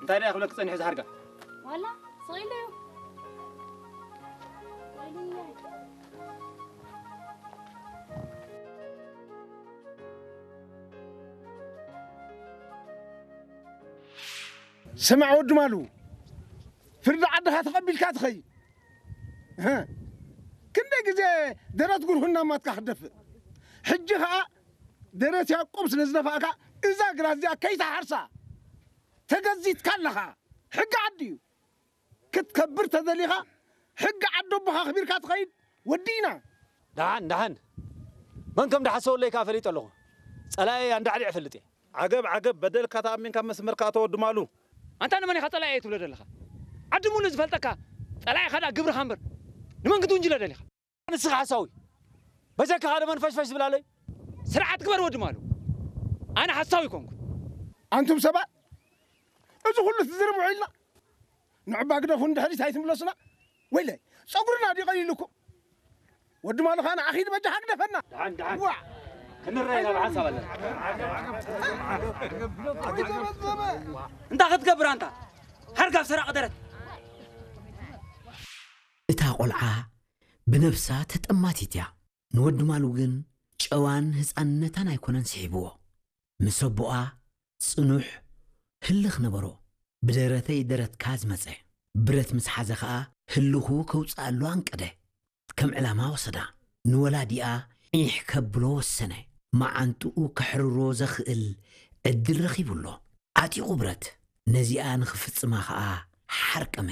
እንታይ ደኣ ክብለኪ ጸኒሑ ዝሓርጋ? ዋላ ስቕ ኢሉ እዩ። ስማዕ ወዲ ማሉ፣ ፍርዲ ዓድኻ ተቐቢልካ ትኸይድ። እህ፣ ክንደይ ግዜ ደረት ጉርሁና ማትካ ክትደፍእ። ሕጂ ኸኣ ደረት ያዕቆብ ስለ ዝደፋእካ እዛ ግራት እዚኣ ከይትሓርሳ ተገዚትካ ኣለኻ። ሕጊ ዓዲ እዩ። ክትከብር ተደሊኻ ሕጊ ዓዲ ኣቦኻ ኣኽቢርካ ትኸይድ። ወዲእና። ደሓን ደሓን፣ መን ከም ድሓሰወለይ ከኣ ፈሊጠ ኣለኹ። ጸላኢ ኣንዳዕዲዐ እፈልጥ እየ። ዓገብ ዓገብ፣ በደልካ ተኣሚንካ መስመርካ ኣቶ ወዲ ማሉ። ኣንታ ንመን ኢኻ ጸላኢየይ ትብሎ ዘለኻ? ዓዲ ሙሉእ ዝፈልጠካ ጸላኢኻ ደኣ ግብርኻ እምበር ንመን ክትውንጅሎ ደሊኻ? ንስኻ ሓሳዊ፣ በጃካ ሓደ መንፈሽፈሽ ዝብላለይ። ስርዓት ግበር ወዲ ማሉ፣ ኣነ ሓሳዊ ኣይኮንኩን። ኣንቱም ሰባት፣ እዚ ኩሉ ትዝርብሑ ኢልና ንዕባ ግደፉ ንድሕሪት ኣይትምለሱና። ወይለይ፣ ጸጉርና ድዩ ቀሊሉኩም? ወዲ ማሉ ኸኣ ንዓኺ በጃኻ ግደፈና። ደሓን ደሓን ዋ ክንረኣይ ኢና ብሓንሳብ ኣለና። እንታይ ክትገብር ኣንታ ሓርጋፍ ሰራቒ ደረት። እታ ቆልዓ ብነብሳ ተጠማቲት እያ። ንወዲ ማሉ ግን ጨዋን ህጻንነታን ኣይኮነን ስሒብዎ። ምስ ኣቦኣ ጽኑሕ ህልኽ ነበሮ። ብደረተይ ደረትካ ዝመጸ ብረት ምስ ሓዘ ኸኣ ህልኹ ከውጽኣሉ ኣንቀደ። ከም ዕላማ ወሰዳ። ንወላዲኣ ዒሕ ከብሎ ወሰነ። መዓንጥኡ ከሕርሮ ዘኽእል ዕድል ረኺቡ ኣሎ። ዓጢቑ ብረት። ነዚኣ ንኽፍጽማ ኸኣ ሓርቀመ።